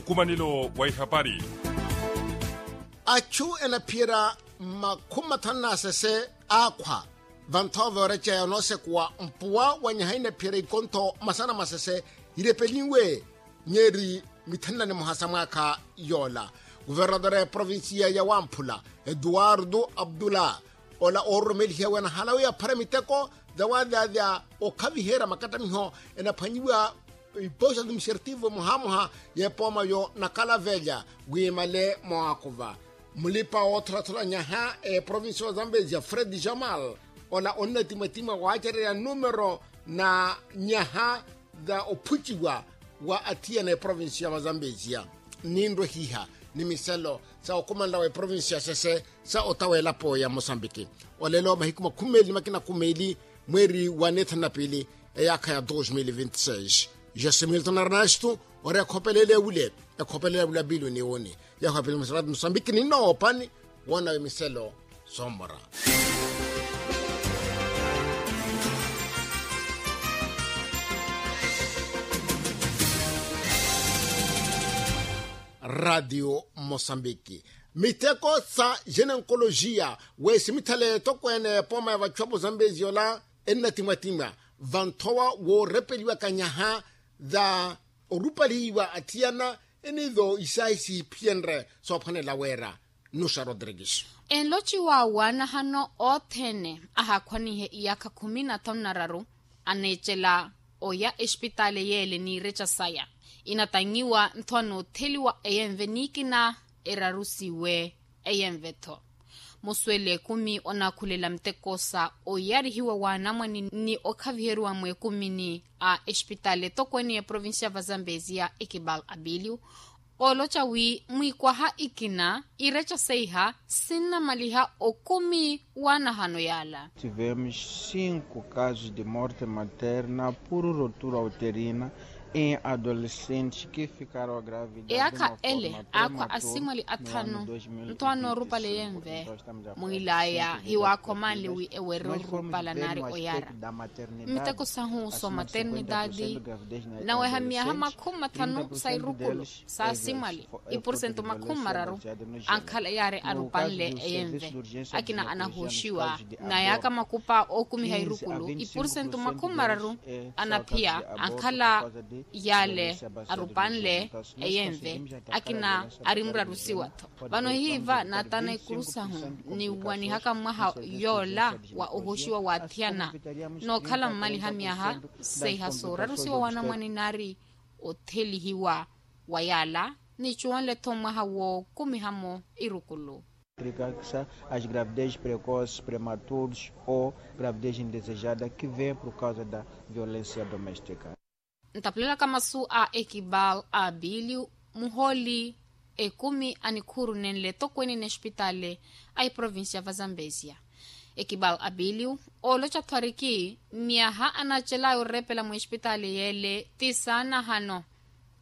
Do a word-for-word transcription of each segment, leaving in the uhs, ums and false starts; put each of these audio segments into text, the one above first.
Nkumanelo wa ihapari. Achu enaphiyerya makhumi mathanu n'asese aakhwa vanthowa voorecheya onoosekuwa mpuwa wa nyaha inaphiyerya ikontho masana masese irepelinwe nyeri mithenla ni muhasa mwaakha yoola. Kuvernadora ya provincia ya wamphula eduardo abdullah ola oororomelihiya wena halawi aphara miteko dawadadia okhaviherya makattamiho enaphwanyiwa iposa administrativo muhamuha y'epooma yo nakalavelya wiimale mwaakuva mulipa wootholathula nyaha eprovincia wa zambezia fred jamal ola onnatimwatimwa waacererya numero na nyaha za ophuciwa wa athiyana eprovincia wa zambezia ninrwehiha ni miselo sa okumanela wa eprovincia sese sa otawa elapo ya mosambiki. Olelo mahiku makhumi meeli ni makina kumi meeli mweeri wa neethanu na piili eyaakha ya dos mil vinti seis. José milton arnasto ori ekhopelele ewule ekhopelele ewule apilu ni wuni yaho apilu mosambiki ninnoopani woonawe miselo soomora. Ratio mosambiki miteko sa genenkolojiya wesimitthale etokweene epooma ya vachuwapo zambeziola ennatimwatimwa vanthowa woorepeliwaka nyaha za orupalihiwa athiyana enizo isaahi sihiphiyenrye soophwanela weera. Nuxa rodrigues enloci wa waanahano othene ahakhwanihe iyaakha khumi na thanu na raru aneecela oya exipitaali yeele n'ireca saya inatanyiwa ntho anootheliwa eyenve nikina erarusiwe eyenve-tho. Musuwele ekumi onaakhulela muteko sa oyarihiwa wa anamwane ni okhaviheriwa mweekumini a exipitaali etokweene ya provincia va zambezia ekibal abilio ooloca wi mwiikwaha ikina ireca seiha sinnamaliha okumi w'anahano yaala. Tivemos cinco casos de morte materna por rotura uterina em adolescentes que ficaram a grave eyaakha ele aakhwa asimwali athanu nto anoorupale yenve mwiilaya hiwaakhomanle wi ewererye orupala nari oyara. Miteko sahu so maternidadi naweha miyaha makhumi mathanu sa irukulu sa asimwali ipursentu makhumi mararu ankhala yaari arupanle eyenve akina anahooxiwa. Na yaaka makupa ookumiha irukulu ipursentu makhumi mararu anaphiya ankhala yaale arupanle eyenve akina ari murarusiwa-tho. Vano hiiva naatana ikuru sahu niwanihaka mwaha yoola wa ohoxiwa waathiyana nookhala mmaliha myaha seiha soorarusiwa wa anamwane naari othelihiwa wa yaala. Nicuwanle-tho mwaha wookumihamo irukulu. As gravidez precoce prematuros ou gravidez indesejada que vem por causa da violencia domestica. Ntapulelaka masu a ekibal a biiliu muhooli ekumi a nikhuuru nenle etokweene n'exipitaali a eprovincia va zambezia. Ekibal a biiliu ooloca-tho ariki myaha anaacel'aya oreepela mw'exipitaali yeele ti saanahano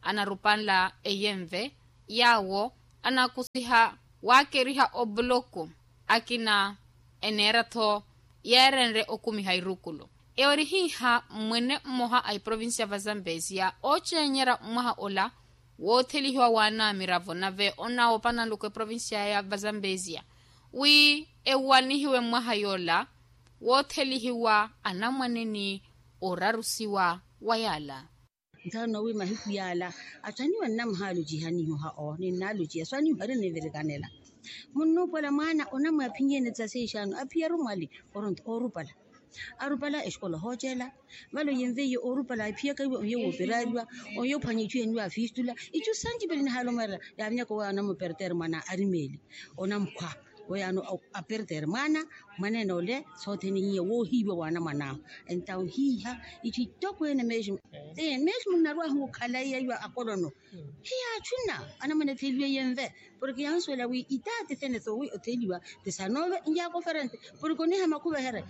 anarupanla eyenve yaawo anaakusiha waakeriha obuloko akina eneera-tho yeerenrye okumiha irukulu. Eyo ori hiiha mwene mmoha a eprovincia va zambezia oocenyerya mwaha ola woothelihiwa waana a miravo nave onaawopa nanluku eprovincia ya va zambezia wi ewanihiwe mwaha yoola woothelihiwa anamwane ni orarusiwa wa yaala. Ntaano wi mahiku yaala atthu aniiwa nnamuhaaluciha niihoha oo ninnaaluciha so aniiwa ari ninvirikanela. Munnuupola mwaana onamwi aphinyeene tisa seexaano aphiyaru mwali oronto oorupala arupala exikola ohooceela. Vale oyenveiye oorupala aphiyaka iwe ohiye wooperariwa ohiye ophwanya itthu yeniwa afistula itthu sanci pele nihaala omweerela. Yaavinyaka owe anamupertere mwana arimeeli onamukhwa oyaano apertere mwaana mwaneene ole soothene hiiya woohiiwa waana mwan'ahu. Entawu hiiha itthu ittokweene mesmo mesmo nnarwahu okhala iya iwa akolono hiyaatthuna anamwane atheliwe yenve porke yansuwela wi itaati thene thowi otheliwa ti sanove njaako ferente porke oniha makhuveherya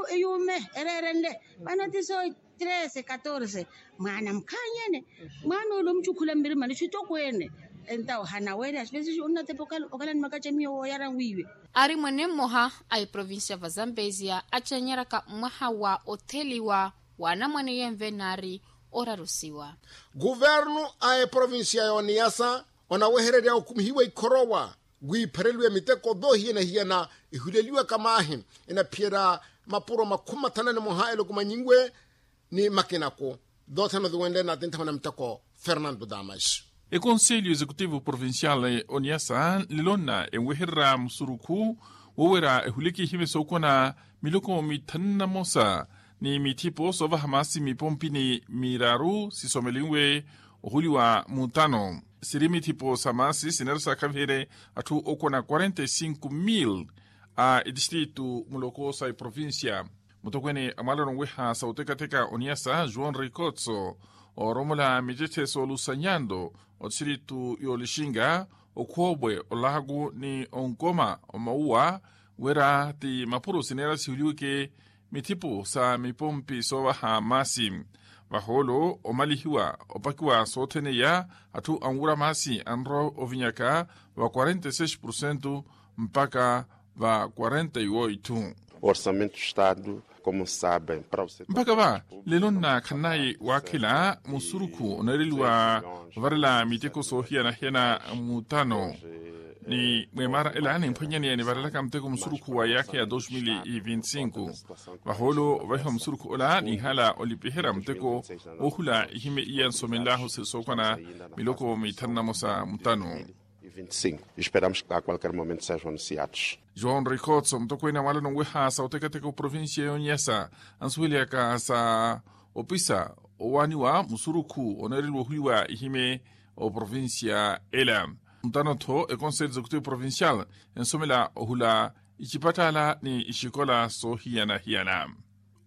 eyuume ereerenle vano ti so trese katorse mwaana mukhaanyene mwaana ole omucukhula mmirimani itthu ittokweene. Entawo hanaweerya sipesisi onnatepa okhala ni makacamiyo wooyara wiiwe. Ari mwene mmoha a eprovincia va zambezia acenyeraka mwaha wa otheliwa wa anamwane yenve naari Orarusiwa. Kuvernu a eprovincia y'oniyasa onawehererya okumihiwa ikhorowa, wiiphereliwe miteko thoohiyana-hiyana ihuleliwaka maahi, enaphiyerya mapuro makhumi mathanu na nimoha eloko manyinwe ni makinako. Thoothene othiwenle naatinthawe na miteko fernando damas. Ekonselho executivo provincial oniyasa nlilona enwehererya musurukhu wowerya ehuleke ihimye sookona miloko mithanu na mosa ni mithipo soovaha maasi mipompini miraru sisomelinwe ohuliwa mutano. Siri mithipo sa maasi sinera saakhaviherye atthu okona quarenta e cinco mil a etistritu muloko sa eprovincia. Mutokweni a mwalano nweha sa otekateka oniyasa joão ricotso ooromola mittetthe soolusa nyando otistritu y'olixinga, okhoobwe, olaku ni onkoma omauwa wira ti mapuro sineera sihuliweke mithipo sa mipompi soovaha maasi. Vahoolo omalihiwa opakiwa sothene iya atthu anwura maasi anrowa ovinyaka va quarenta e seis porcento mpaka va quarenta e oito. Orçamento do estado, como sabem, para você mpaka va lelo nnaakhannayi waakhela musurukhu oneereliwa ovarela miteko soohiyana-hiyana mutano ni mweemara ela nimphwanyaneya nivarelaka muteko musurukhu wa yaakha ya dos mil e vinte e cinco. Vahoolo ovahiwa musurukhu ola ninhala olipiherya muteko woohula ihimye iya nsomenlahu siri sookwana miloko mithanu na mosa mutano. Esperamos que a qualquer momento sejam anunciados. João ricotso mutokweni a mwalano nweha sa otekateka oprovincia y'oniyasa ansuweleyaka sa opisa owaaniwa musurukhu oneereliwa ohuliwa ihimye oprovincia ela. Mutano-tho ekonselho executivo provincial ensomela ohula icipattaala ni ixikola soohiyana-hiyana.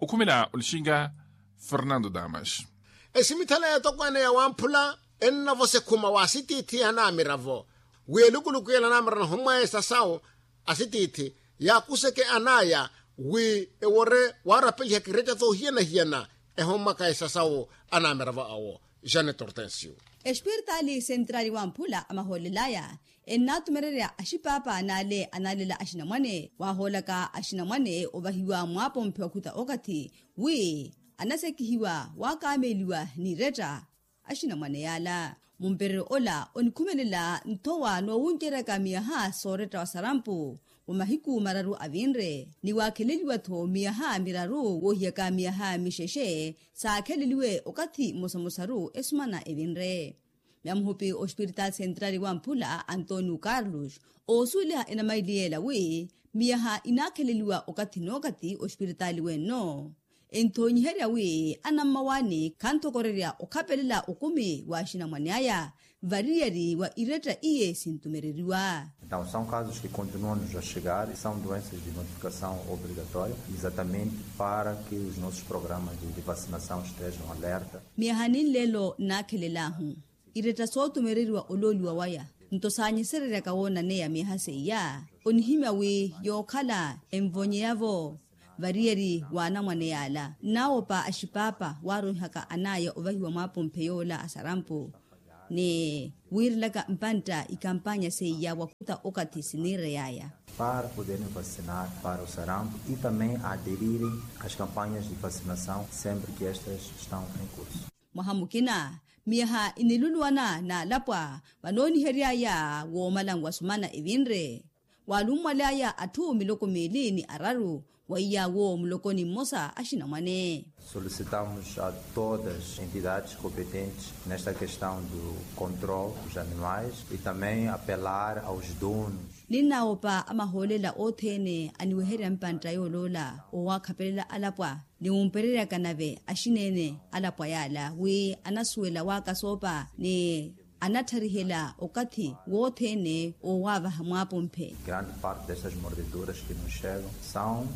Okhumela olixinga fernando damas. Esimithala y'etokwane ya wamphula ennavosa ekhuma wa asitiithi anaamiravo wi elukuluku yela anaamiravo nahommwaya esasawu asitiithi yaakuseke anaya wi ewore waarapeliha kiretta thoohiyana-hiyana ehommwaka esasawu anaamiravo awo. Janet hortensio. Espiritaali sentrali wamphula amahoolelaya ennaatumererya axipaapa n'ale anaalela axinamwane waahoolaka axinamwane ovahiwa mwaapomphe wakhuta okathi wi anasekihiwa waakaameliwa n'iretta. Axinamwane yaala mumpereryo ola onikhumelela nthowa noowunceryaka miyaha sooretta wa sarampu wa mahiku mararu avinre ni waakheleliwa-tho miyaha miraru woohiyaka miyaha mixexe saakheleliwe okathi mmosa-mmosaru esumana evinre. Myamuhupi ospiritaali sentrali wamphula antonio carlos oosuweliha enamaili yeela wi miyaha inaakheleliwa okathi n'okathi ospiritaali wenno enthoonyiherya wi anammawaani khanthokorerya okhapelela okumi wa axinamwane aya variyari wa iretta iye sintumereriwa. Então são casos que continuam nos a chegar e são doenças de notificação obrigatória exatamente para que os nossos programas de vacinação estejam alerta. Miyaha ninleelo nnaakhelelaahu iretta sootumereriwa olooliwa waya nto saanyesereryaka woonaneya miyaha seiya onihimya wi yookhala envonyeyavo variyari w'anamwane yaala nnaawopa axipaapa waaroihaka anaya ovahiwa mwaapomphe yoola asarampu ni wiirelaka mpantta ikampanya seiya wakhuta okathi siniireyaya. Para poderem vacinar para o sarampo e também aderirem às campanhas de vacinação sempre que estas estão em curso. Mwaha mukina miyaha iniluluwana n'alapwa vanooniheryaya woomalanwa sumana evinre waalummwalyaya atthu miloko miili ni araru weiyawo mulokoni mmosa axinamwane. Solicitamos a todas as entidades competentes nesta questão do controle dos animais e também apelar aos donos. Ninnaawopa amahoolela othene aniweherya mpantta yooloola owaakhapelela alapwa ni wumpereryaka nave axineene alapwa yaala wi anasuwela waakasoopa ni anatharihela okathi wothene owaavaha mwaapomphe. Grande parte destas mordeduras que nos chegam são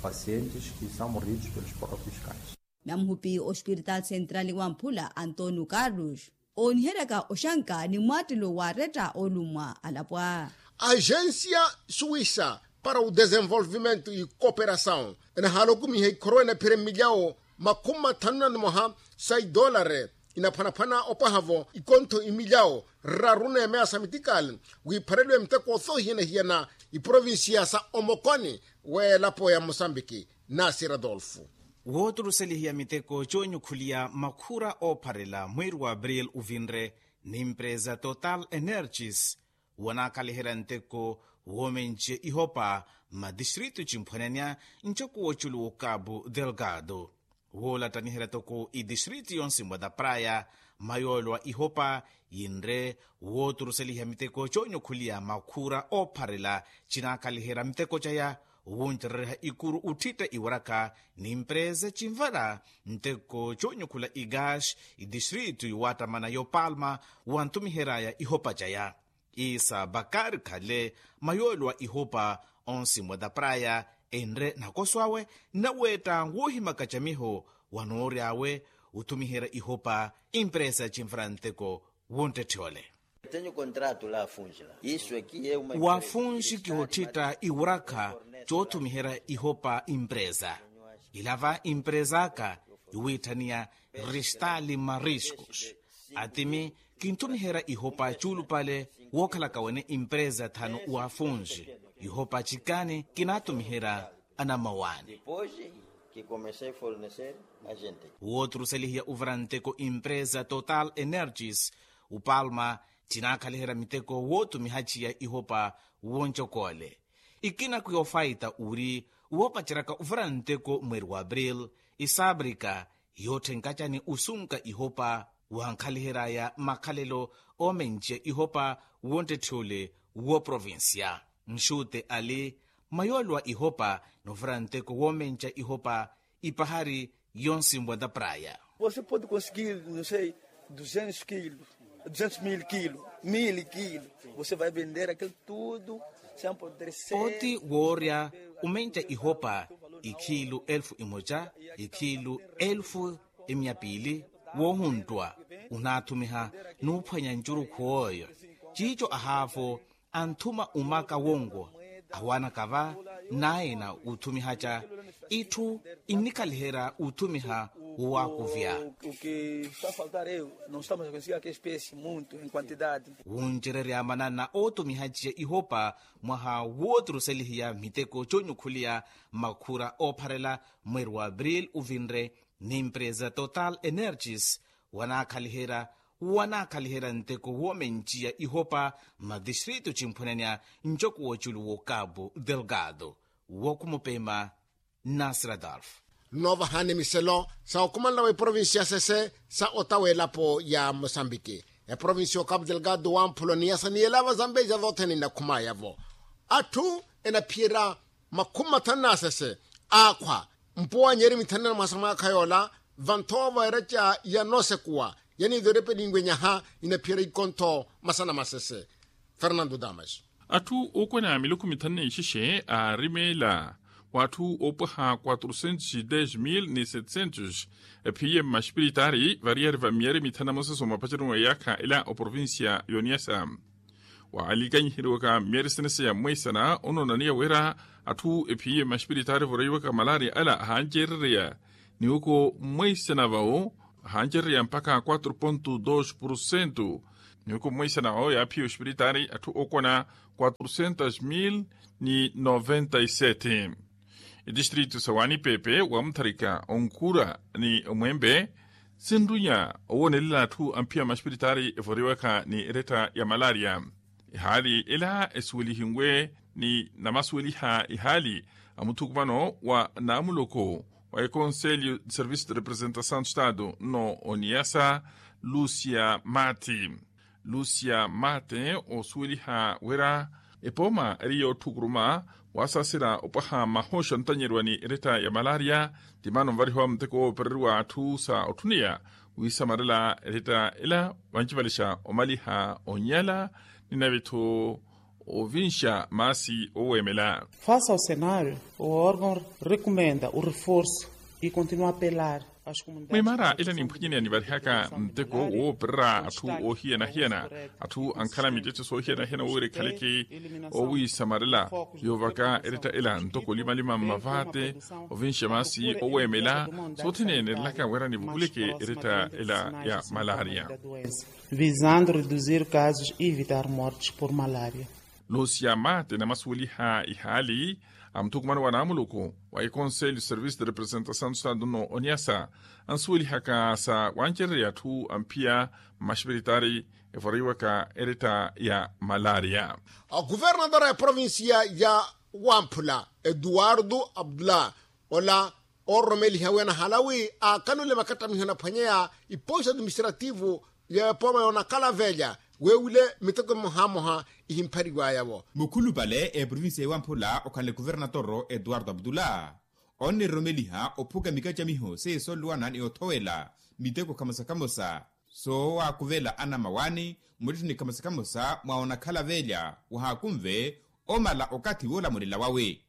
pacientes que são mordidos pelos próprios cães. Namuhupi ospiritaali sentrali wamphula antonio carlos ooniheryaka oxanka ni mwaattelo wa retta olummwa alapwa. Agensia suwisa para o desenvolvimento e cooperasaw enahaala okumiha ikhorowa enapherya mmilyawo makhumi mathanu na nimoha sa idolare inaphwanaphwana opwaha-vo ikontho imilyawo raru n'emeya sa mitikali wiiphareliwe miteko thoohiyana-hiyana iprovinsiya sa omokoni w'elapo ya mosambiki. Nasir adolfo. Wooturuselihiya miteko coonyukhuliya makhura oopharela mweeri wa april uvinre, n'impresa total energies wanaakhalihela nteko woomenciya ihopa mma distritu cimphwanania ncoko woculu wo kapu delgado. Woolattaniherya toko itistritu yonse mwa tapraya, mayoolo a ihopa yinre wooturuseliha miteko coonyukhuliya makhura oopharela. Cinaakhalihela miteko caya wuncerereha ikuru uttitta iwarakha n'impresa cinvara nteko coonyukhula igaasi itistritu yuwaattamana yo palma, wanttumiheryaya ihopa caya. Isa bakari khale mayoolo a ihopa onsi mwa tapraya enre nakoso awe, nnaweetta woohimaka camiho wanoory'awe othumiherya ihopa impresa ya cinvara nteko wonttetthi ole. Waafunxi kihottitta iwarakha coothumiherya ihopa impresa. Ila va impresa aka yuwiitthaniya ristali mariskus. Atimi kinthumiherya ihopa cuulupale wookhalaka wene impresa thanu waafunxi. Ihopa cikani kinaathumiherya anammawaani. Wooturuselihiya uvara nteko impresa total energies upalma, cinaakhalihela miteko wootumihaciya ihopa woncokoole. Ikina ku yoofayita uri woopaceryaka uvara nteko mweeri wa april, isabrika yootthenkacani osunka ihopa wankhalihelyaya makhalelo oomenciya ihopa wonttetthi ole wooprovincia. Nxutte ali mayoolo a ihopa noovara nteko woomenciya ihopa ipahari yonse mwa tapraya. Você pode conseguir, não sei, duzentos quilos, duzentos mil quilos, mil quilos. Você vai vender aquilo tudo sem apodrecer. Pooti woorya omenca ihopa ikhiilu elfu imoca, ikhiilu elfu emiya piili, woohunttuwa onaathumiha nuuphwanya ncurukhu ooyo. Ciico ahaavo anthuma omaka wonwo awanaka va naina othumihaca itthu innikhaliherya othumiha wowaakuvya. Wuncererya manana ootumihaciya ihopa mwaha wooturuselihiya miteko coonyukhuliya makhura oopharela mweeri wa april uvinre, n'impresa total energies wanaakhaliherya wanaakhaliherya nteko woomenciya ihopa mma distritu cimphwanania ncoko woculu wo kapu delgado. Wokhumupema nasradolf. Nnoovahani miselo sa okhumanela wa iprovinsi ya sese sa ota w'elapo ya mosambiki. Eprovinsi ya okapu delgado wamphulo ni yasa ni yelava zambeja vothene ninakhumaya-vo. Atthu enaphiyerya makhumi mathanu na sese aakhwa mpuwa anyeri mithanina mwasa mwaakha yoola vanthowa va eraca ya noosekuwa yaniiverepeliwe nyaha inaphiyerya ikontho masana masese. Fernando damas. Atthu ookwana miluku mithanu na ixexe aarimeela wa atthu oopwaha quatro centos e dez mil ni setecentos ephiye mmaxipiritaari variyari va miyari mithanu na moseso mapacharunwa yaakha ela oprovincia yoniyasa. Waalikanyiheriwaka miyari senese ya mweisana onoonaniya wira atthu ephiye mmaxipiritaari voriwaka malaria ala ahancerereya niwuko mweisana vawo ahancerereya mpakha quatro ponto dos porcento. Niwuko mweisana vawo yaaphiya oxipiritaari atthu ookwana quatro centos mil ni noventa e sete. Etistritu sa wanipepe wamutharika onkura ni omwembe sinrunya owoonelela atthu amphiya maxipiritaari evoriwaka ni eretta ya malaria. Ehaali ela esuwelihiwe ni namasuweliha ehaali a muthukumano wa naamuloko wa ekonselho de serviço de representação de estado nno oniyasa lucia mati. Lucia mate osuweliha wira epooma eri yoothukuruma wasaasela opwaha mahoxa ntanyeriwa ni eretta ya malaria. Ti maana onvarihiwa muteko woopereriwa atthu sa otthuneya wiisamarela eretta ela vancivalixa omaliha onyala ni nave-tho ovinxa maasi oweemela. Face ao cenário o órgão recomenda o reforço e continua a apelar às comunidades. Mwimaara ela nimphwinyeneya nivarihaka nteko wooperera atthu oohiyana-hiyana atthu ankhala mittetteso oohiyana-hiyana wira ekhaleke owiisamarela yoovaka eretta ela ntoko limalima mmavaate ovinxa maasi oweemela sothene enerelaka wira nivukuleke eretta ela ya malaria. Visando reduzir casos e evitar mortes por malaria. Lucia mate namasuweliha ihaali a muthukumano wa naamuluku wa ikonselho service de representação do estado no oniasa, ansuwelihaka sa wancererya atthu amphiya mmaxipiritari evoriwaka eretta ya malaria. Oguvernatora ya provincia ya wamphula eduardo abdullah, ola ororomeliha wi anahala wi akanule makattamiho anaphwanyeya iposto administrativo ya epooma yoonakhala velya, wewile miteko mmohamoha ihimphariwaya-wo. Mukhulupale eprovincia ya wamphula okhanle kuvernatoro eduardo abdullah, oniroromeliha ophuka mikacamiho seiye sonluwana ni othowela miteko kamosa kamosa soowakuvela anamawani muttettheni kamosa kamosa mwa onakhala velya wahaakunve omala okathi woolamulela wawe.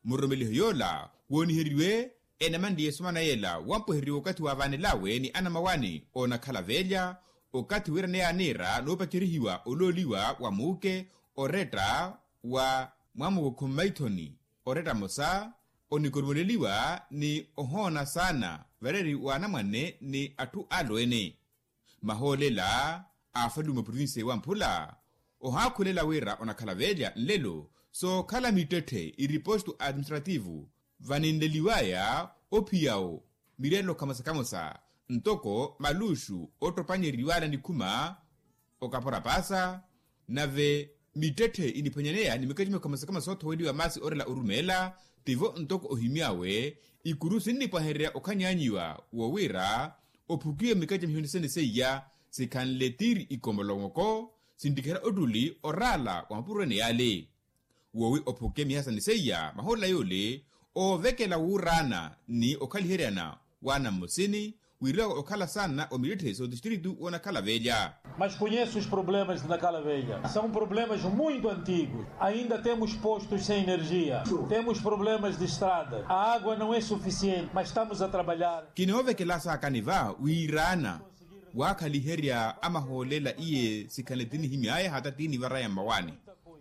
Muroromeliho yoola wooniheriwe enamanliye esomana yeela wampweheriwa okathi waavaanel'awe ni anamawani oonakhala velya, okathi wiiraneya aniira noopacerihiwa olooliwa wa muuke oretta wa mwamukukhu mmaithoni oretta mosa onikorumeleliwa ni ohoona saana vareeri wa anamwane ni atthu alweene. Mahoolela aafaliwe muprovinsiya ewamphula ohaakhulela wira onakhala velya nlelo sookhala mittetthe iriposto administrativo vaninleliwaya ophiyawo mirelo kamosa kamosa ntoko maluxu ottopanyeriwala nikhuma okapora paasa. Nave mittetthe iniphwanyaneya ni mikacamiho kamosa kamosa soothoweliwa maasi orela orumeela tivo ntoko ohimy'awe ikuru sinnipwahererya okhanyaanyiwa wo wira ophukiwe mikacamiho nisene seiya sikhanle tiiri ikomolongoko sinttikhera ottuli oraala wa mapuro ene yaale. Woowi ophuke miyaha sani seiya mahoolela yoole oovekela wuuraana ni okhaliheryana waana mmosini wiiriwaka okhala saana omittetthe sootistiritu woonakhala velya. Mas conheço os problemas de nakala velha são problemas muito antigos. Ainda temos postos sem energia, temos problemas de estrada, a água não é suficiente mas estamos a trabalhar. Kinoovekela saakani va wiiraana waakhaliherya amahoolela iye sikhanle tinihimy'aya hata tinivar'aya mmawaani.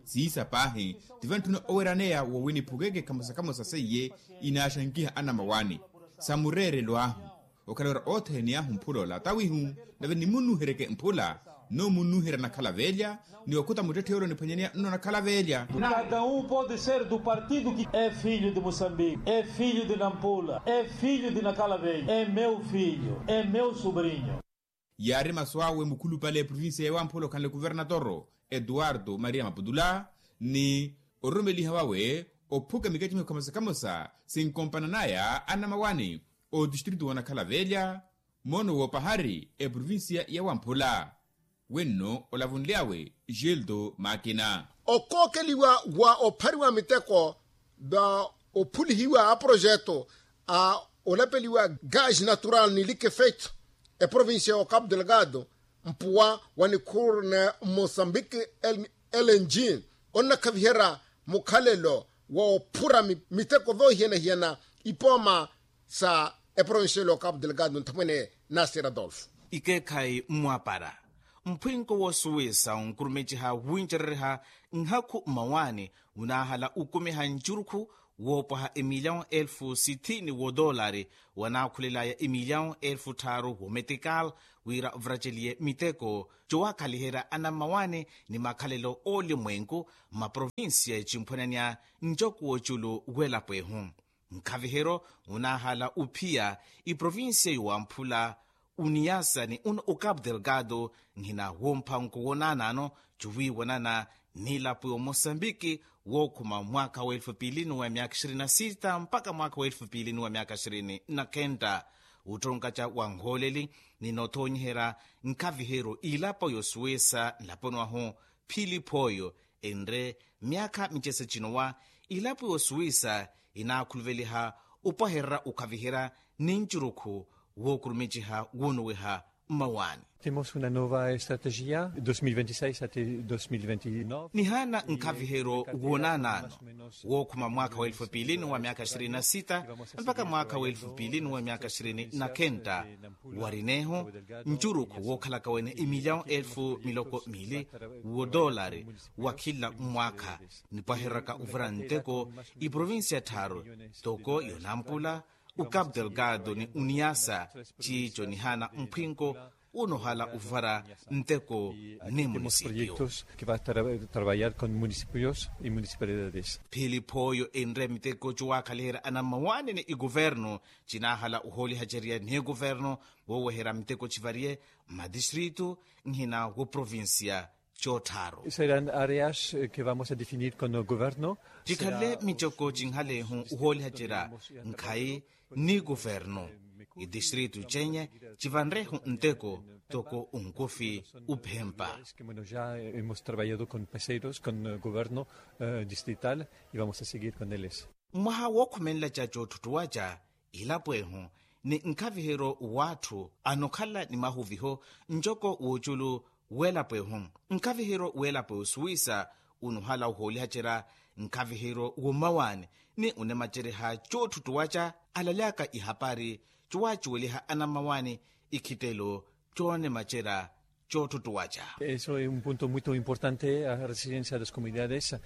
Siisa paahi tivantthuna oweeraneya woowi niphukeke kamosa kamosa seiye inaaxankiha anamawaani sa mureerelo ahu. Okhala wira othene ni ahu mphula ola tawihu nave nimunnuhereke mphula nno munnuherya nakhala velya ni okhuta muttetthe yoole oniphwanyaneya nno nakhala velya. Cada um pode ser do partido que é filho de moçambique é filho de nampula é filho de nakhala velha é meu filho é meu sobrinho. Yaari masu awe mukhulupale eprovincia ya wamphula okhanle kuvernatoro eduardo maria maputula ni ororomeliha wawe ophuka mikacamiho kamosa kamosa sinkompananaya anamawani otistritu woonakhala velya moono woopahari eprovincia ya wamphula. Wenno olavunly'awe gildo makina. Okookeliwa wa ophariwa miteko va ophulihiwa aprojeto a olapeliwa gaz natural ni likefeito eprovincia ya ocapo delgado mpuwa wa nikhuru ne mosambiki lng onnakhaviherya mukhalelo wa ophura miteko voohiyana-hiyana ipooma sa eprovincia ya ocapo delgado nthamwene nasir adolfo. Ikeekhayi mmwapara mphwinko woosuwisa onkurumeciha wincerereha nhakhu mmawaani munaahala ukumiha ncurukhu woopwaha emilyawu elfu sithini woodoolari wanaakhulelaya emilyawu elfu tthaaru woometikal wira vraceliye miteko cowakhaliherya anammawaani ni makhalelo oolimwenku mmaprovincia ecimphwananya ncoko wooculu w'elapo ehu. Nkhaviheryo munaahala uphiya iprovincia yowamphula uniyasa ni uno ocapo delgado nhina womphanko wonaanano cuwiiwanana nilapo ya omosambiki wookhuma mwaakha wa elfu piili nuwa myaakha ishirini na sita mpakha mwaakha wa elfu piili nuwa myaakha ishirini na khenta. Wuttonkaca wa nhooleli ni noothoonyiherya nkhaviheryo ilapo yosuwisa nlaponi wahu phili phooyo enre myaakha micese cinowa ilapo yosuwisa inaakhuluveliha opwahererya okhaviherya ni ncurukhu wookurumiciha woonuwiha mmawaani. Temos una nova estrategia dos mil veintiseis ate dos mil veintinove. Nihaana nkhaviheryo woonaanaano wookhuma mwaakha wa elfu piili nuwa myaakha ishirini na sita mpakha mwaakha wa elfu piili nuwa myaakha ishirini na khenta warineeho ncurukhu wookhalaka wene emilyawu elfu miloko miili woodoolari wa khila mwaakha nipwahereraka ovira nteko iprovincia tthaaru toko yonampula ocapo delgado ni uniyasa ciico nihaana mphwinko unohala uvara nteko ni munisipio. Proyektos ke va trabayar kon munisipios i munisipalidades. Philipooyo enre miteko cowakhaliherya anammawaani ni ikuvernu cinahala uhoolihacerya ni kuvernu, woweherya miteko civariye mmatistritu nhina wo provincia. Cottharu. Seran areas ke vamos a definir kon governo. Cikhale miteko cinhalehu uhoolihacerya nkhayi ni kuvernu. Itistritu cenye civanrehu nteko toko unkufi uphempa. Ke mono ya hemos trabayado kon peseiros kon governo distrital i vamos a seguir kon eles. Mwaha wookhumenlaca cootthutthuwaca ilapo ehu ni nkhaviheryo w'atthu anokhala ni mahuviho ncoko w'oculu w'elapo ehu. Nkhaviheryo w'elapo esuwisa unuhala uhoolihacerya nkhaviheryo wommawaani ni unemacereha cootthutthuwaca alalyaka ihapari cowaacuweliha anammawaani ikhittelo coonemacerya cootthutthuwaca. Eso es un punto muito importante a resiliensia das comunidades.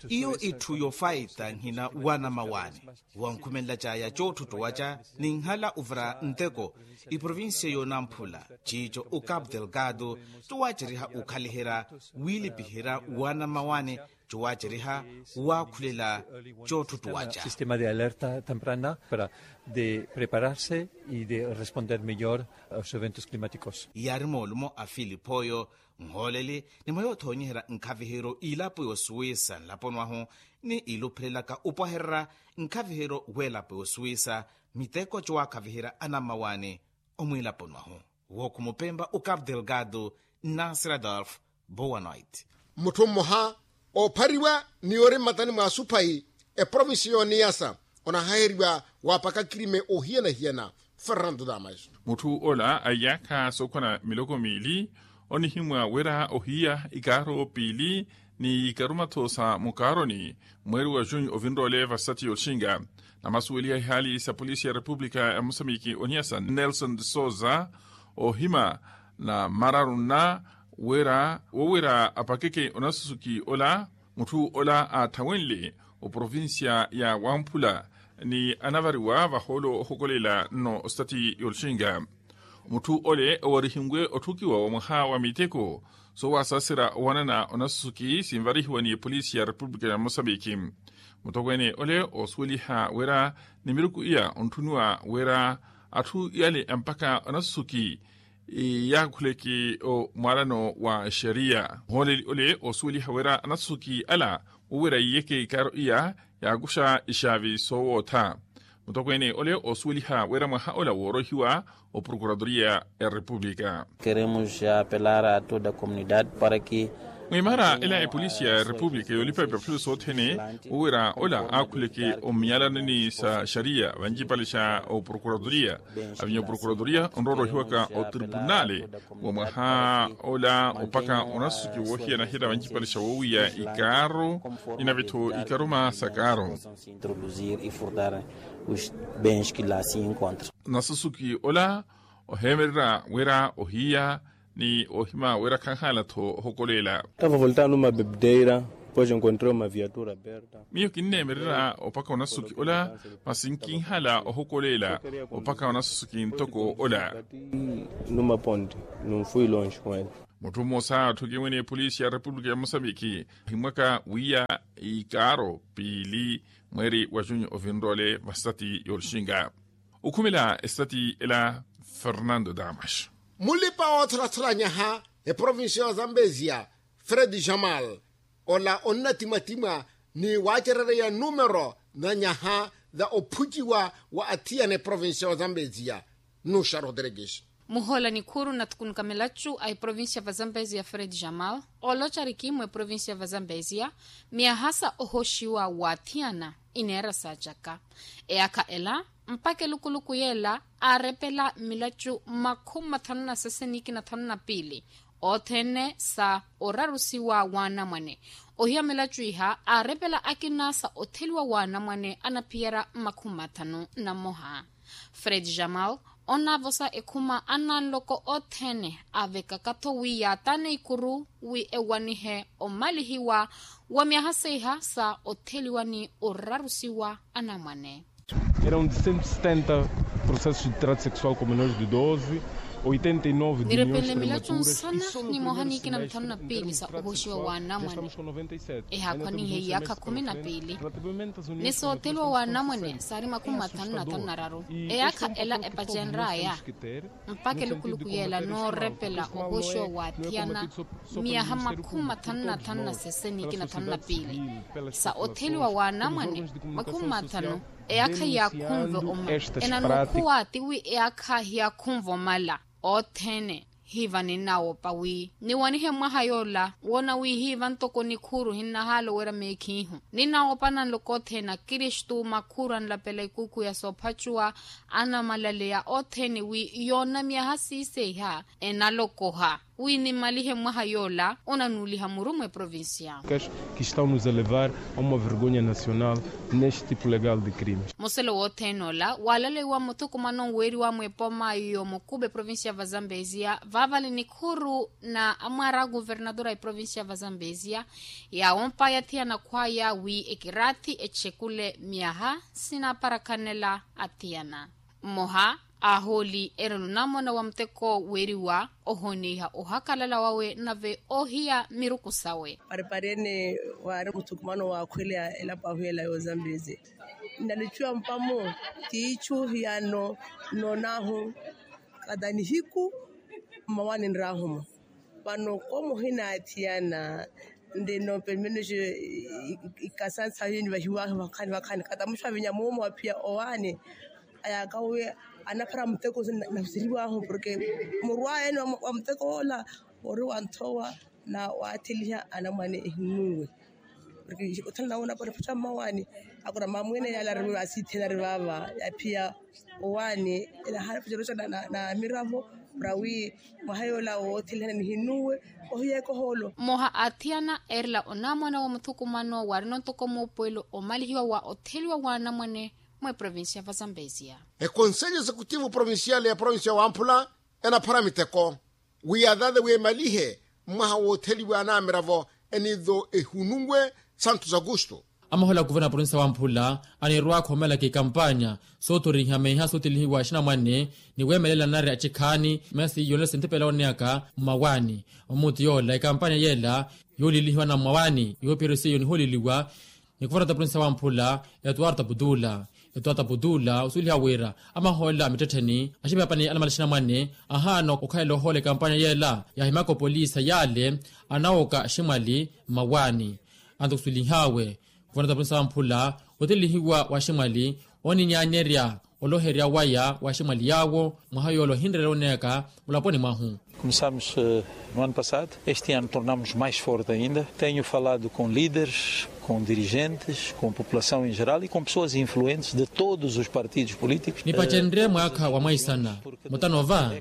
Iyo itthu yofaita nhina wanamawaani wankhumenlacaya cootthutthuwaca ninhala uvira nteko iprovincia yoonamphula ciico ukapu delgado cowaaceriha ukhaliherya wiilipiherya wanamawaani cowaaceriha waakhulela cootthutthuwaca. Sistema de alerta temprana para de prepararse i de responder meyor a os eventos klimatikos. Yaari moolumo a filipoyo nhooleli ni mwa yoothoonyeherya nkhaviheryo ilapo yosuwisa nlaponi wahu ni iluuphelelaka upwahererya nkhaviheryo w'elapo yosuwisa miteko cowaakhaviherya anammawaani omwiilaponi wahu. Wookhumupempa ukapu delgado nnasira dolf bowanwait. Mutthu mmoha oophariwa ni yoori mmatani mwa suphayi eprovinsi yooniyasa onahaheriwa waapaka kirime ohiyana-hiyana. Fernando damas. Mutthu ola aiyaakha sookhwana miloko miili onihimwa wira ohiya ikaaro piili ni ikarumatho sa mukaaroni mweeri wa junyu ovinroole vasati yootxinga. Namasuweliha ihaali sa polisi ya repupulika ya mosamiki oniyasa nelson de souza ohima na mararu nna wira wowira apakeke onasusuki ola. Mutthu ola aatthawenle oprovincia ya wamphula ni anavariwa vahoolo ohokolela nno ositati yoolxinga. Mutthu ole owarihiwe otthukiwa wa mwaha wa miteko soowasaasera owanana onasusuki sinvarihiwa ni epolisi ya repupulika ya mosambiki. Mutokweene ole oosuweliha wira ni miruku iya ontthuniwa wira atthu yale mpakha onasusuki yaakhuleke omwaalano wa exeriya. Muhooleli ole oosuweliha wira anasusuki ala wowira yiiyeke ikaaro iya yaakuxa ixaavi soowootha. Mutokweene ole oosuweliha wira mwaha ola woorohiwa oprokuratoria ya repupulika. Keremos apelar a toda a comunidade para que mwimaara ela epolisi ya repupulika yoolipa epaphelo sothene wowira ola aakhuleke ommiyalanani sa xariya vancipale xa oprokuratoria. Avinya oprokuratoria onroorohiwaka otribunale wa mwaha ola opaka onasusuki woohiyana-hiyana vancipale xa woowiya ikaaro inave-tho ikaruma sa kaaro. Nasusuki ola oheemererya wira ohiya ni ohima wira khanhaala-tho ohokolela. Tava voltando uma bebdeira pois encontrei uma viatura aberta. Miyo kinneemererya opaka onasusuki ola masi nkinhala ohokolela opaka onasusuki ntoko ola. Numa ponte nunfui longe com ele. Mutthu mmosa atthukiwe ni epolisi ya repupulika ya mosambiki ohimwaka wiiya ikaaro piili mweeri wa junyu ovinroole vasati yoolixinga. Okhumela esitati ela fernando damas. Mulipa wootholathula nyaha eprovincia ya zambezia fred jamal ola onnatimatima ni waacerereya numero na nyaha za ophuciwa wa athiyana eprovincia ya zambezia. Nuxa rodrigues. Muhoola nikhuuru nathukunuka milacu a eprovincia va zambezia fred jamal oolocari kimu eprovincia va zambezia myaha sa ohoxiwa waathiyana ineera saacaka. Eyaakha ela mpakha elukuluku yeela aarepela milacu makhumi mathanu na sese ni ikina thanu na piili othene sa orarusiwa w'anamwane. Ohiya milacu iha aarepela akina sa otheliwa w'anamwane anaphiyerya makhumi mathanu na mmoha. Fred jamal onaavosa ekhuma ananloko othene avekaka-tho wi yaatane ikuru wi ewanihe omalihiwa wa myaha seiha sa otheliwa ni orarusiwa anamwane. Eram cento e setenta processos de trato sexual com menores de doze. Nirepenle milaco nsana ni moha ni ikina mithanu na piili sa ohoxiwa wa anamwane. Ehaakhwanihe iyaakha khumi na piili. Ni sootheliwa wa anamwane saari makhumi mathanu na thanu na raru. Eyaakha ela epacenr'aya mpakha elukuluku yeela noorepela ohoxiwa wa athiyana miyaha makhumi mathanu na thanu na sese ni ikina thanu na piili. Sa otheliwa wa anamwane makhumi mathanu. Eyaakha hiyaakhunve omala. Enanukhuwa tiwi eyaakha hiyaakhunve omala. Othene hiiva ninnawoopa wi niwanihe mwaha yoola woona wi hiiva ntoko nikhuuru hinnahaala owerya meekhiihu. Ninnawoopa nanloka othene akristu makhuuru anlapela ikuukhu ya soophacuwa anamalaleya othene wi yoona myaha siiseiha enalokoha wi nimalihe mwaha yoola onanuuliha muru mweprovincia. Kistau nus elevar a uma vergonha nacional neste tipo legal de crime. Muselo wothene ola waalaleiwa muthukumano weeriwa mwepooma yoomukuba eprovincia va zambezia vaavale nikhuuru na amwaara a kuvernadora eprovincia va zambezia. Yaawompaya athiyana khwaya wi ekiraathi echekule myaha sinaaparakhanela athiyana. Mmoha aahooli erela onamona wa muteko weeriwa ohooneiha ohakalala wawe nave oohiya miruku sawe. Pareparene waari muthukumano waakhweleya elapo ahu ela yoozambeze. Nnalicuwa mpamu tiichu hiyano nnoonahu kata nihiku mmawani nraahumo. Vano koomo ohinaathiyana nrino pelo menos ikasantha yini vahiwahi vakhani vakhani kata muxu avinya moomo aphiya owaani. Ayaaka wi anaphara muteko nahuseriwahu porke muru aya ene wa muteko woola ori wanthowa na waatheliha anamwane ehinuwe. Porke othanla wona porke phatta mmawaani akora mamwene yaala ari asiithena ari vaava yaphiya owaani. Enahaala phatta eroca na miravo para wi mwaha yoola woothelihana nihinuwe ohiyeeka ohoolo. Mmoha a athiyana eerela onamwana wa muthukumano waarina ontoko muupuwelo omalihiwa wa otheliwa wa anamwane mweprovincia va zambezia. Ekonselho executivo provincial ya provincia wamphula enaphara miteko wi yathaathe wi emalihe mwaha wootheliwa anamiravo eniitho ehununwe santos augusto. Amahola a kuverna provincia wamphula anirwa akhomelaka ikampanya soothoriha meeha sootelihiwa axinamwane ni weemelela nari axikhaani meesi yonela sintipela oneyaka mmawaani. Omuti yoola ikampanya yeela yoolilihiwa na mmawaani yoopiheryo seiyo nihooliliwa ni kuverna ta provincia wamphula etuwarta putula. Etuwarta putula osuweliha wira amahoolela a mittettheni axipihapani anamala axinamwane ahaana okhalela ohoola ekampanya yeela yaahimaka opolisa yaale anawoka aximwali mmawaani. Anto kusuwelihaawe kuvanata provincia wamphula otelihiwa wa aximwali oninyaanyerya oloherya waya wa aximwali yaawo mwaha yoola ohinrerela oneyaka mulaponi mwahu. Começamos no ano passado, este ano tornamos mais forte ainda. Tenho falado com líderes, com dirigentes, com população em geral e com pessoas influentes de todos os partidos políticos. Nipacenrye mwaakha wa mwaisana mutano va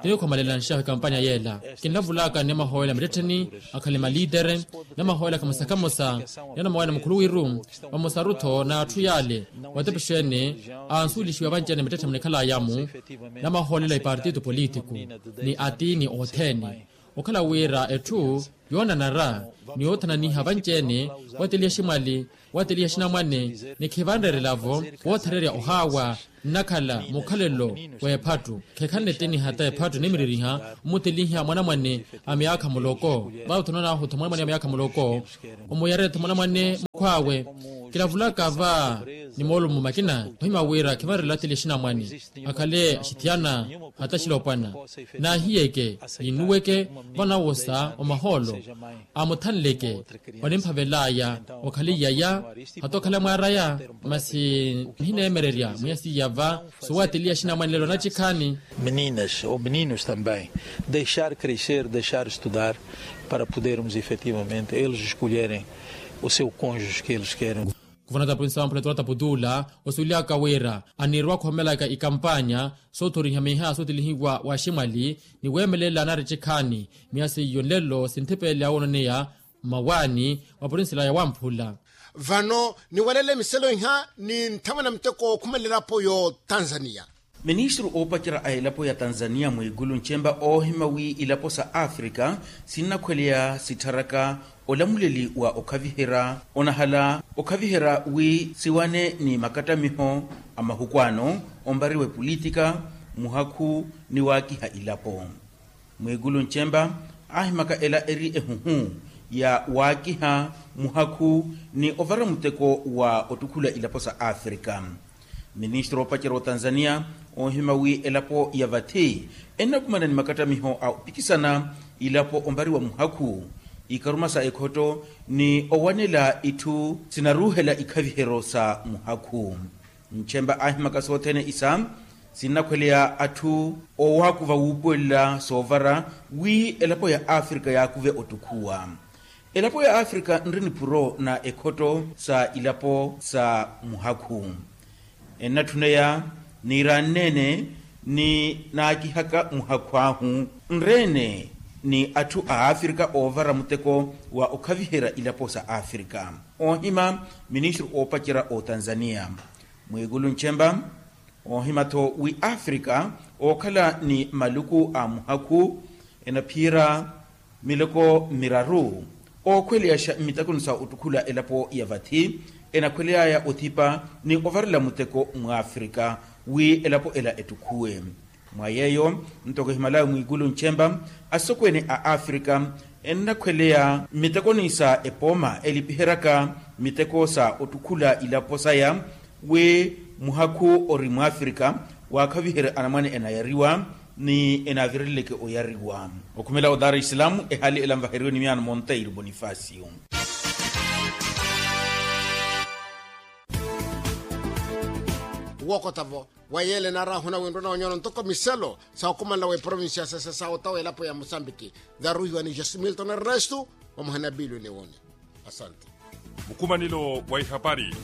tinikhwamalela nxahu ekampanya yeela. Kinlavulaka ni amahoolela mittettheni akhale maliitere ni amahoolela khamosa khamosa ni anamawayana mukhuluwiru vamosaru-tho n'atthu yaale watepexene ansuwelixiwa vanci-ene mittettheni munikhalaya-mu. Namahoolela ipartito politiku ni atiini othene okhala wira etthu yoonanara ni yoothananiha vanci-ene wateliha aximwali wateliha axinamwane ni khivanrerelavo woothererya ohaawa nnakhala mukhalelo w'ephattu. Khekhanle etiniha ta ephattu nimiririha omuteliha mwanamwane a myaakha muloko vaawe othononahu-tho mwanamwane a myaakha muloko omuyarerya-tho mwanamwane mukhw'awe. Kilavulaka va ni moolumo makina ohima wira khivanrerela ateliha axinamwane akhale axithiyana hata axilopwana naahiyeke ninuweke vanawosa omahoolo amuthanleke onimphavel'aya okhale iyaya hata okhale mwaar'aya. Masi nihineemererya mwiya siiya va sowateliya axinamwane lelo anacikhaani. Meninas ou meninos também deixar crescer, deixar estudar para podermos efetivamente eles escolherem o seu cônjuge que eles querem. Kuvanata provincia wamphula etuwarta putula osuwelihaka wira anirwa akhomelaka ikampanya soothoriha miha sootelihiwa wa aximwali ni weemelela nari cikhaani miya seiyo nlelo sinthipele awoononeya mmawaani wa provincia ya wamphula. Vano niwalele miselo iha ni nthamwena muteko ookhumelela elapo y'otanzania. Ministru oopacerya a elapo ya tanzania mwigulu nchemba oohima wi ilapo sa afrika sinnakhweleya sittharaka olamuleli wa okhaviherya onahala okhaviherya wi siwane ni makattamiho a mahuku ano ompariwa epolitika muhakhu ni waakiha ilapo. Mwikulu ncempa aahimaka ela eri ehuhu ya waakiha muhakhu ni ovara muteko wa ottukhula ilapo sa afrika. Ministri oopacerya otanzania oohima wi elapo ya vathi ennakumana ni makattamiho a opikisana ilapo ompariwa muhakhu, ikaruma sa ekhotto ni owanela itthu sinaruuhela ikhaviheryo sa muhakhu. Ncempa aahimaka sothene isa sinnakhweleya atthu owakuva wuupuwelela soovara wi elapo ya afrika yaakuve ottukhuwa. Elapo ya afrika nri nipuro na ekhotto sa ilapo sa muhakhu. Ennatthuneya niiranneene ni naakihaka muhakhu ahu nreene ni atthu a afrika oovara muteko wa okhaviherya ilapo sa afrika. Oohima ministri oopacerya otanzania mwikulu ncempa oohima-tho wi afrika ookhala ni maluku a muhakhu enaphiyerya miloko miraru ookhweleyaxa mmitakoni sa ottukhula elapo ya vathi enakhweleyaya othipa ni ovarela muteko mwafrika wi elapo ela ettukhuwe. Mwa yeeyo ntoko ehimalawe mwikulu ncempa asokweene a afrika ennakhweleya mmitekoni sa epooma elipiheryaka miteko sa ottukhula ilapo saya wi muhakhu ori mwafrika waakhaviherye anamwane enayariwa ni enaavireleleke oyariwa. Okhumela o dar es salaam ehali ela nvaheriwe ni miyaano monteiro bonifacio. Wookota-vo wa yeela enaarahuna winruna onyono ntoko miselo sa okhumanela w'eprovincia sese sa ota w'elapo ya mosambiki. Nzaruhiwa ni jesi milton ernesto vamoha ni abiilwe ni woni. Asante. Mukhumanelo wa ihapari.